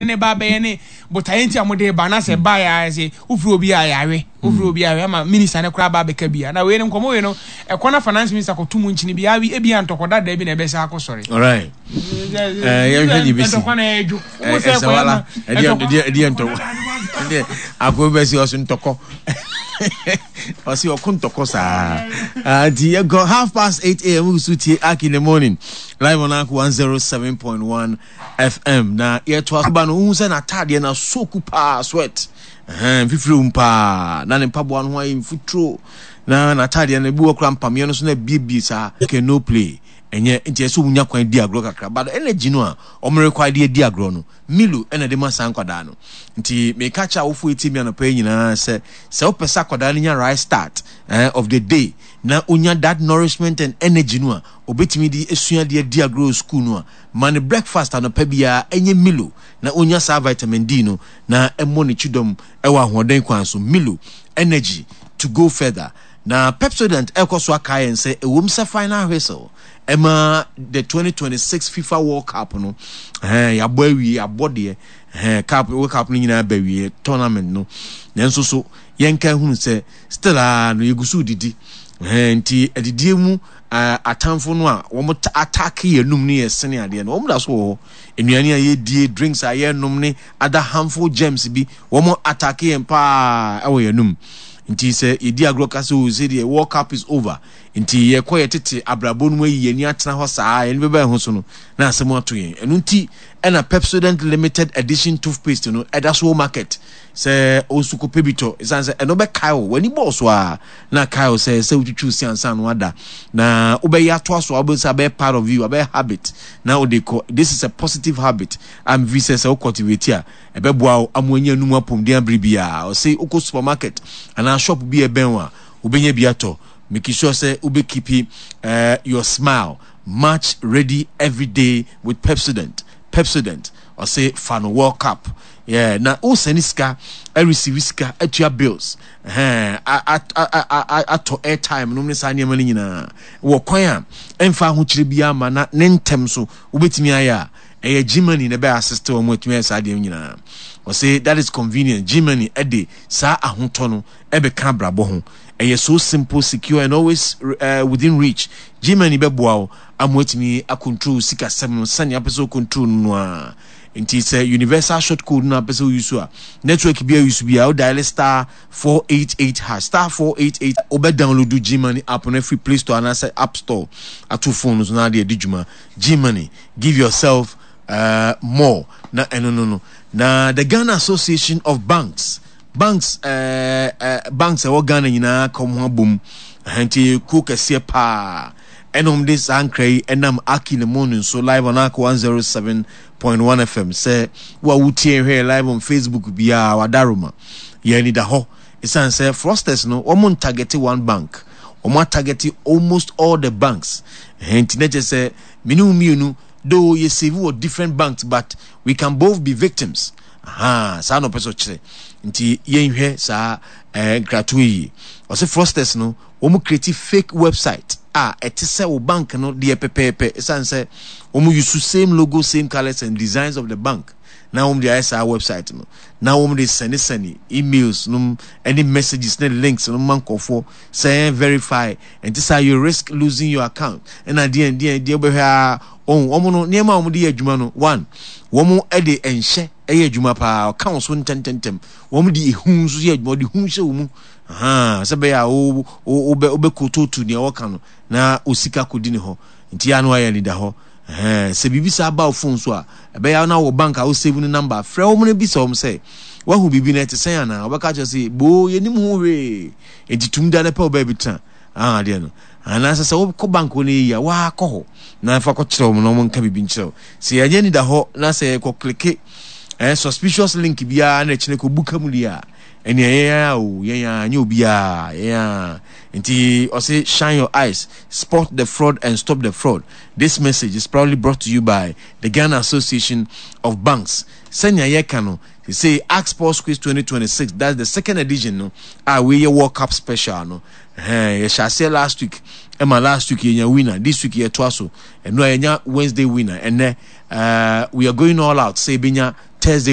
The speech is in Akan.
Ne ba bɛyɛ ne botaeɛ nti a wɔde ba na sɛ ba yɛ ayɛ sɛ wofiri obi a yɛawe wofiri obi a ama minista no koraa ba abɛka bi a na wei no nkɔmmɔ wei no ɛkɔ na finance minister kɔto mu nkyini bi awi ebi a ntɔkɔ dada bi na ɛbɛsa akɔ sɔre. Alright. Yɛnhwɛ deɛ bɛsi. Ntɔkwa na ɛdwo. Ɛsɛwala ɛdeɛ ntɔkwa ɛdeɛ akɔ bɛsi ɔso ntɔkɔ ɔsi ɔko ntɔkɔ saa nti yɛkɔ 8:30 a.m. wusu tie Ark in the morning live on Ark 107.1 FM na yɛtoa so ba no, wohu sɛ n'ataadeɛ no asoku paa, sweat, ɛhɛn, mfifire wom paa, na ne mpaboa no ho ayɛ mfuturo, na n'ataadeɛ no ebi wɔ koraa mpameɛ no so na abiebie saa. Okay, no play, ɛnyɛ, nti ɛsɛ wɔn nya kwan di agorɔ kakra, but energy no a wɔn require de adi agorɔ no, Milo ɛna ɛde ma saa nkwadaa no. Nti meka kyerɛ awofo etie mi anɔpa yi nyinaa sɛ, sɛ wopɛ sɛ akwadaa no nya right start eh, of the day, na onya that nourishment and energy no a, obetumi de asua de adi agorɔ wɔ school no a, Ma no breakfast anɔpa biara, ɛnyɛ Milo, na ɔnya saa vitamin D no na ɛmmɔ ne kyidɔm wɔ ahoɔden kwan so. Milo, energy to go further. Na Pepsodent ɛrekɔ so akae yɛn sɛ ɛwom sɛ final whistle ɛma the 2026 FIFA World Cup no, ɛhɛn, yɛabɔ awie, yɛabɔ deɛ, ɛhɛn, cup, World Cup no nyinaa ba awie, tournament no, nanso so yɛnka hunu sɛ still a no yɛgu so redidi, ɛhɛn, nti adidie mu atamfo no a wɔn attack yɛn anum ne yɛn sene adeɛ no, wɔn da so wɔ hɔ. Nnuane a yɛdie, drinks a yɛnom ne other harmful germs bi, wɔn attack yɛn paa ɛwɔ yɛn anum. Nti sɛ yɛdi agorɔ ka sɛ o sɛ deɛ World Cup is over, nti yɛkɔ yɛ tete abrabɔ no mu ayi yɛn ani atena hɔ saa, yɛn bɛba yɛn ho so no, na asɛm ato yɛn. Ɛno nti ɛna Pepsodent limited edition toothpaste no ɛda so wɔ market sɛ wo nso kɔpɛ bi tɔ, ɛsiane sɛ ɛno bɛkae wo, w'ani bɔɔ so a na kae wo sɛ sɛ wotwitwiw se ansa na wada na wobɛyɛ atoa so a wobɛhu sɛ abɛyɛ part of you, abɛyɛ habit na wode kɔ. This is a positive habit a mefi sɛ sɛ wo cultivate a ɛbɛboa wo ama wanya anum apɔmuden abere biara. Ɔse wokɔ supermarket anaa shop bi a ɛbɛn wo a wobɛnya bi atɔ. Make sure sɛ wobɛkeepi uh, your smile match ready every day with Pepsodent. Pepsodent ɔse fa no World Cup. Yeah, na wo send sika, receive sika, atua bills, ɛhɛn, atɔ airtime nom ne saa nneɛma no nyinaa wɔ kwan a ɛmfa ahokyere biara ma na ne ntɛm so wobɛtumi ayɛ a ɛyɛ Gmoney na ɛbɛ assist wɔn atumi ayɛ saa deɛ nyinaa. Ɔse that is convenient. Gmoney ɛde saa ahotɔ no ɛbɛka abrabɔ ho. Ɛyɛ so simple, secure and always within reach. Gmoney bɛboa wo ama watumi acontrol sikasɛm no sɛnea apɛ sɛ ocontrol no no ara. Nti sɛ universal short code no apɛ sɛ wo use a, network bi a use bi a, wo dial *488#, *488. Wobɛ download Gmoney app no afiri Play Store anaasɛ App Store ato phone no so na ade adi dwuma. Gmoney, give yourself uh, more. Na ɛno no no. Na the Ghana Association of Banks, banks uh, uh, banks ɛwɔ Ghana nyinaa ka wɔn ho abom. Nti kuo kɛseɛ paa. Ɛna wɔn de saa nkra yi ɛnam Aki ne Moon nso live on Ark 107.1 FM sɛ wo a wotie hwɛ live on Facebook biara wadaroma yɛn ani da hɔ ɛsiane sɛ fraudsters no wɔn ntargete one bank, wɔn atargete almost all the banks. Ɛhɛn nti na kyerɛ sɛ mene wo mmienu though yɛ save wɔ different banks but we can both be victims. Ahaa saa na ɔpɛ sɛ ɔkyerɛ nti yɛnhwɛ saa ɛɛ nkratoɔ yi. Ɔsɛ fraudsters no wɔn create fake website a ɛte sɛ wo bank no deɛ pɛpɛɛpɛ ɛsiane sɛ wɔn use same logo, same colours and designs of the bank na wɔn de ayɛ saa website no na wɔn de sɛnesɛne emails nom ɛne messages ne links no ma nkurɔfoɔ sɛ verify ɛnte saa you risk losing your account ɛna deɛ deɛ deɛ wobɛhwɛ a wɔn wɔn no nneɛma a wɔn de yɛ adwuma no one wɔn de nhyɛ ɛyɛ adwuma paa ɔka wɔn so ntɛntɛntɛm wɔn de ehu nso yɛ adwuma wɔde hu hyɛ wɔn mu. Ahaa, sɛ ɛbɛyɛ a wo, wo, wobɛ, wobɛkototu nea wɔka no na wo sika kɔdi ne hɔ. Nti yɛ a na wayɛ anidahɔ. Ɛhɛn, sɛ biribi saa ba wo phone so a, ɛbɛyɛ a na wɔ bank a wo save no number, frɛ wɔn na bisa wɔn sɛ, wahu biribi no ɛte sɛn anaa? Wɔbɛka akyerɛ sɛ, boo, yɛnim ho hwee. Nti tum da na pɛ wo baabi tena. Ahaa, adeɛ no. Anaasɛ sɛ wokɔ bank hɔ na ɛyɛ yie a, woaa kɔ hɔ na fa kɔkyerɛ wɔn na wɔn nka biribi nkyerɛ wo. Sɛ yɛanyɛ anidahɔ na sɛ yɛkɔ klike eh, suspicious link biara na ɛkyerɛ kɔbu ka mu deɛ a, Ɛnea yɛn ara o, yɛn ara, nyɛ obiara, yɛn ara. Nti ɔse shine your eyes, spot the fraud and stop the fraud. This message is proudly brought to you by the Ghana Association of Banks. Sɛnea yɛka no, sesei Ask Sports Quiz 2026, that's the second edition no, a wei yɛ World Cup special no. Ɛhɛn, yɛhyɛ aseɛ last week. Ɛma last week yɛnya winner, this week yɛtoa so. Ɛno a yɛnya Wednesday winner. Ɛnɛ we are going all out sɛ yɛbɛnya Thursday.